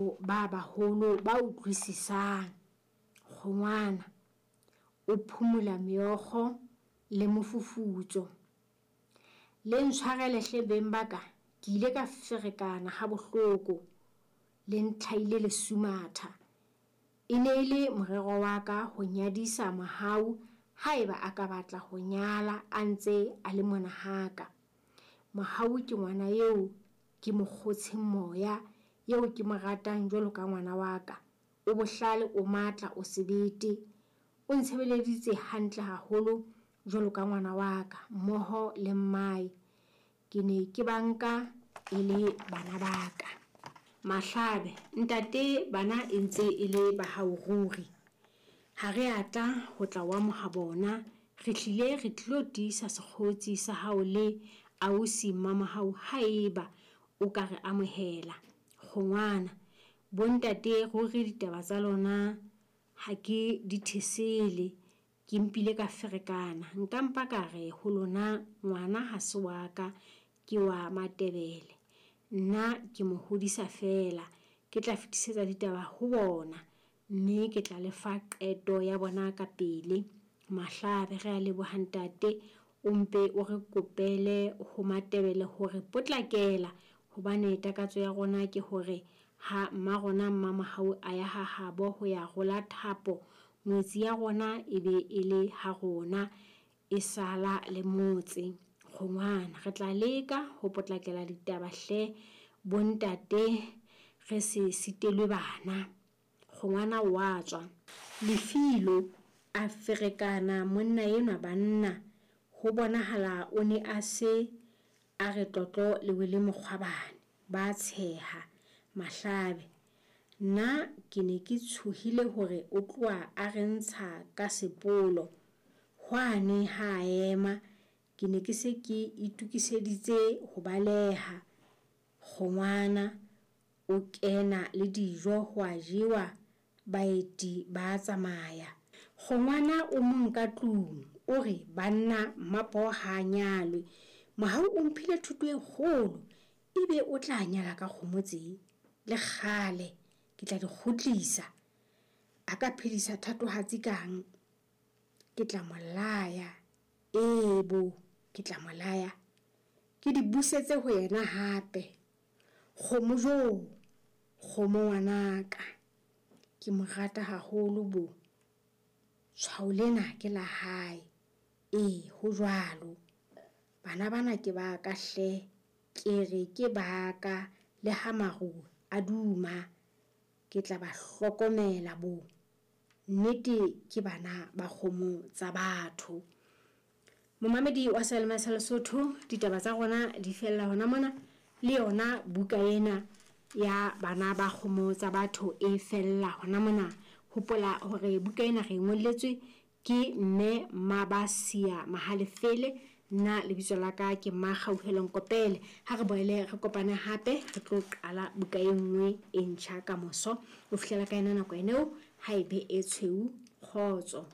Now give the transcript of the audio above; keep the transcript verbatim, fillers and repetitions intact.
Ba baholo ba utlwisisang. Kgongwana o phumula meokgo le mofufutso. Le ntshwarele hle beng ba ka, ke ile ka ferekana ha bohloko. Le ntlhaile lesumatha. E ne e le morero wa ka ho nyadisa Mohau haeba a ka batla ho nyala a ntse a le mona haka. Mohau ke ngwana eo ke mo kgotsheng moya, eo ke mo ratang jwalo ka ngwana wa ka. O bohlale, o matla, o sebete. O ntshebeleditse hantle haholo jwalo ka ngwana wa ka mmoho le mmae. Ke ne ke ba nka e le bana ba ka. Mahlabe, ntate bana e ntse e le ba hao ruri. Ha re a tla ho tla o amoha bona, re hlile re tlilo tiisa sekgotsi sa hao le ausi Mmamohau haeba o ka re amohela. Kgongwana, bontate ruri ditaba tsa lona ha ke di thesele. Ke mpile ka ferekana. Nka mpa ka re ho lona ngwana ha se wa ka, ke wa Matebele. Nna ke mo hodisa feela. Ke tla fetisetsa ditaba ho bona, mme ke tla le fa qeto ya bona ka pele. Mahlabe, re a leboha ntate. O mpe o re kopele ho Matebele hore potlakela hobane takatso ya rona ke hore ha mma rona Mmamohau a ya ha habo ho ya rola thapo, ngwetsi ya rona e be e le ha rona e sala le motse. Kgongwana, re tla leka ho potlakela ditaba hle bontate re se sitelwe bana. Kgongwana wa tswa. Lefilo a ferekana monna enwa banna. Ho bonahala o ne a se a re tlotlo le wele mokgwabane. Ba tsheha. Mahlabe, nna ke ne ke tshohile hore o tloha a re ntsha ka sepolo. Hwane ha a ema, ke ne ke se ke itokiseditse ho baleha. Kgongwana o kena le dijo ho a jewa, baeti ba tsamaya. Kgongwana o mong ka tlung o re banna Mmapoho ha a nyalwe. Mohau o mphile thuto e kgolo, ebe o tla nyala ka kgomo tse? Le kgale ke tla di kgutlisa. A ka phedisa thatohatsi kang? Ke tla mo laya. Ee bo, ke tla mo laya. Ke di busetse ho yena hape. Kgomo jo, kgomo ngwanaka. Ke mo rata haholo bo. Tshwao lena ke la hae. Ee, ho jwalo. Bana bana ke ba ka hle. Ke re ke ba ka le ha maru a duma. Ke tla ba hlokomela bo. Nnete ke bana ba kgomo tsa batho. Momamedi wa Seyalemoya sa Lesotho, ditaba tsa rona di fella hona mona. Le yona buka ena ya bana ba kgomo tsa batho e fella hona mona. Hopola hore buka ena re e ngolletswe ke mme Mabasia Mahalefele. Nna lebitso la ka ke Makgauhelo Nkopele. Ha re boele re kopane hape, re tlo qala buka e nngwe e ntjha ka moso. Ho fihlela ka yona nako eno, ha e be e tshweu, kgotso.